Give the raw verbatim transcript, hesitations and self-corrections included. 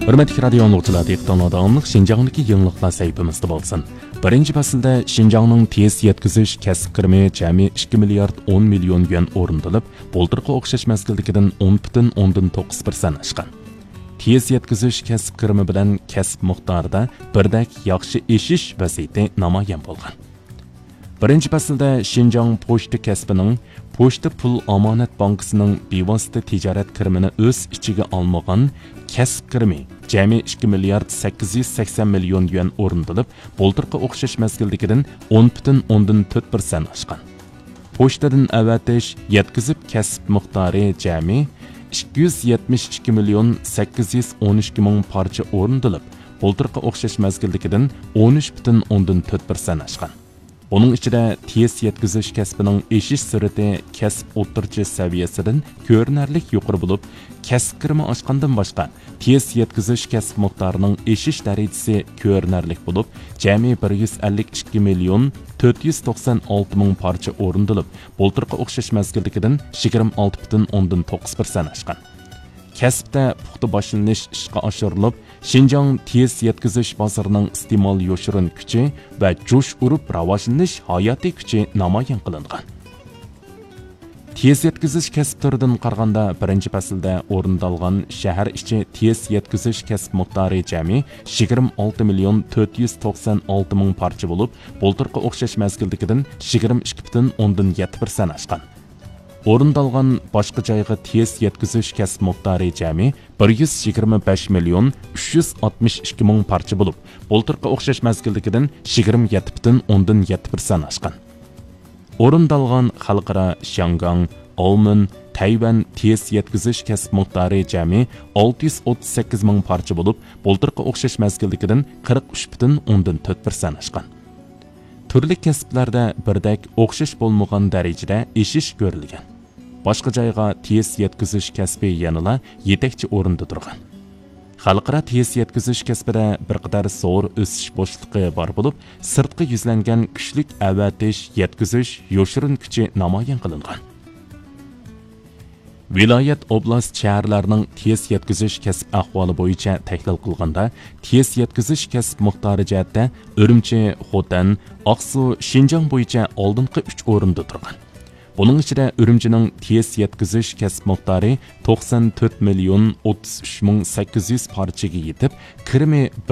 ھۆرمەتلىك رادىئو ئاڭلىغۇچىلار، دىققىتىڭلاردا داۋاملىق شىنجاڭدىكى يېڭىلىقلار سەھىپىمىزدە بولسۇن. بىرىنچى پەسىلدە شىنجاڭنىڭ تېز يەتكۈزۈش كەسىپ كىرىمى جەمئىي ئىككى مىليارد ئون مىليون يۈەن ئورۇندىلىپ، بۇلتۇرقى ئوخشاش مەزگىلدىكىدىن ئون پۈتۈن ئوندىن توققۇز پىرسەنت ئاشقان. تېز يەتكۈزۈش كەسىپ كىرىمى بىلەن كەسىپ مىقدارىدا بىردەك ياخشى ئېشىش ۋەزىيىتى نامايان بولغان. بىرىنچى پەسىلدە شىنجاڭ پوچتا كەسپىنىڭ پوچتا پۇل ئامانەت بانكىسىنىڭ بىۋاسىتە تىجارەت كىرىمىنى ئۆز ئىچىگە ئالمىغان كەسىپ كىرىمى جەمئىي ئىككى مىليارد سەككىز يۈز سەكسەن مىليون يۈەن ئورۇندىلىپ، بۇلتۇرقى ئوخشاش مەزگىلدىكىدىن ئون پۈتۈن ئوندىن تۆت پىرسەنت ئاشقان. پوچتىدىن ئەۋەتىش، يەتكۈزۈپ كەسىپ مىقدارى جەمئىي ئىككى يۈز يەتمىش ئىككى مىليون سەككىز يۈز ئون ئىككى مىڭ پارچە ئورۇندىلىپ، بۇلتۇرقى ئوخشاش مەزگىلدىكىدىن ئون ئۈچ پۈتۈن ئوندىن تۆت پىرسەنت ئاشقان. ئۇنىڭ ئىچىدە تېز يەتكۈزۈش كەسپىنىڭ ئېشىش سۈرئىتى كەسىپ ئوتتۇرىچە سەۋىيەسىدىن كۆرۈنەرلىك يۇقىرى بولۇپ، كەسىپ كىرىمى ئاشقاندىن باشقا، تېز يەتكۈزۈش كەسىپ مىقدارىنىڭ ئېشىش دەرىجىسى كۆرۈنەرلىك بولۇپ، جەمئىي بىر يۈز ئەللىك ئىككى مىليون تۆت يۈز توقسان ئالتە مىڭ پارچە ئورۇندىلىپ، بۇلتۇرقى ئوخشاش مەزگىلدىكىدىن يىگىرمە ئالتە پۈتۈن ئوندىن توققۇز پىرسەنت ئاشقان. كەسىپتە پۇختا باشلىنىش ئىشقا ئاشۇرۇلۇپ، شىنجاڭ تېز يەتكۈزۈش بازىرىنىڭ ئىستېمال يوشۇرۇن كۈچى ۋە جۇش ئۇرۇپ راۋاجلىنىش ھاياتىي كۈچى نامايان قىلىنغان. تېز يەتكۈزۈش كەسىپ تۈرىدىن قارىغاندا، بىرىنچى پەسىلدە ئورۇندالغان شەھەر ئىچى تېز يەتكۈزۈش كەسىپ مىقدارى جەمئىي يىگىرمە ئالتە مىليون تۆت يۈز توقسان ئالتە مىڭ پارچە بولۇپ، بۇلتۇرقى ئوخشاش مەزگىلدىكىدىن يىگىرمە ئىككى پۈتۈن ئوندىن يەتتە پىرسەنت ئاشقان. ئورۇندالغان باشقا جايغا تېز يەتكۈزۈش كەسىپ مىقدارى جەمئىي بىر يۈز يىگىرمە بەش مىليون ئۈچ يۈز ئاتمىش ئىككى مىڭ پارچە بولۇپ، بۇلتۇرقى ئوخشاش مەزگىلدىكىدىن يىگىرمە يەتتە پۈتۈن ئوندىن يەتتە پىرسەنت ئاشقان. ئورۇندالغان خەلقئارا شياڭگاڭ، ئاۋمېن، تەيۋەن تېز يەتكۈزۈش كەسىپ مىقدارى جەمئىي ئالتە يۈز ئوتتۇز سەككىز مىڭ پارچە بولۇپ، بۇلتۇرقى ئوخشاش مەزگىلدىكىدىن قىرىق ئۈچ پۈتۈن ئوندىن تۆت پىرسەنت ئاشقان. تۈرلۈك كەسىپلەردە بىردەك ئوخشاش بولمىغان دەرىجىدە ئېشىش كۆرۈلگەن. باشقا جايغا تېز يەتكۈزۈش كەسپى يەنىلا يېتەكچى ئورۇندا تۇرغان. خەلقئارا تېز يەتكۈزۈش كەسپىدە بىر قەدەر زور ئۆسۈش بوشلۇقى بار بولۇپ، سىرتقا يۈزلەنگەن كۈچلۈك ئەۋەتىش، يەتكۈزۈش يوشۇرۇن كۈچى نامايان قىلىنغان. ۋىلايەت، ئوبلاست، شەھەرلەرنىڭ تېز يەتكۈزۈش كەسىپ ئەھۋالى بويىچە تەھلىل قىلغاندا، تېز يەتكۈزۈش كەسىپ مىقدارى جەھەتتە ئۈرۈمچى، خوتەن، ئاقسۇ، شىنجاڭ بويىچە ئالدىنقى ئۈچ ئورۇندا تۇرغان. بۇنىڭ ئىچىدە ئۈرۈمچىنىڭ تېز يەتكۈزۈش كەسىپ مىقدارى توقسان تۆت مىليون ئوتتۇز ئۈچ مىڭ سەككىز يۈز پارچىگە يېتىپ، كىرىمى بىر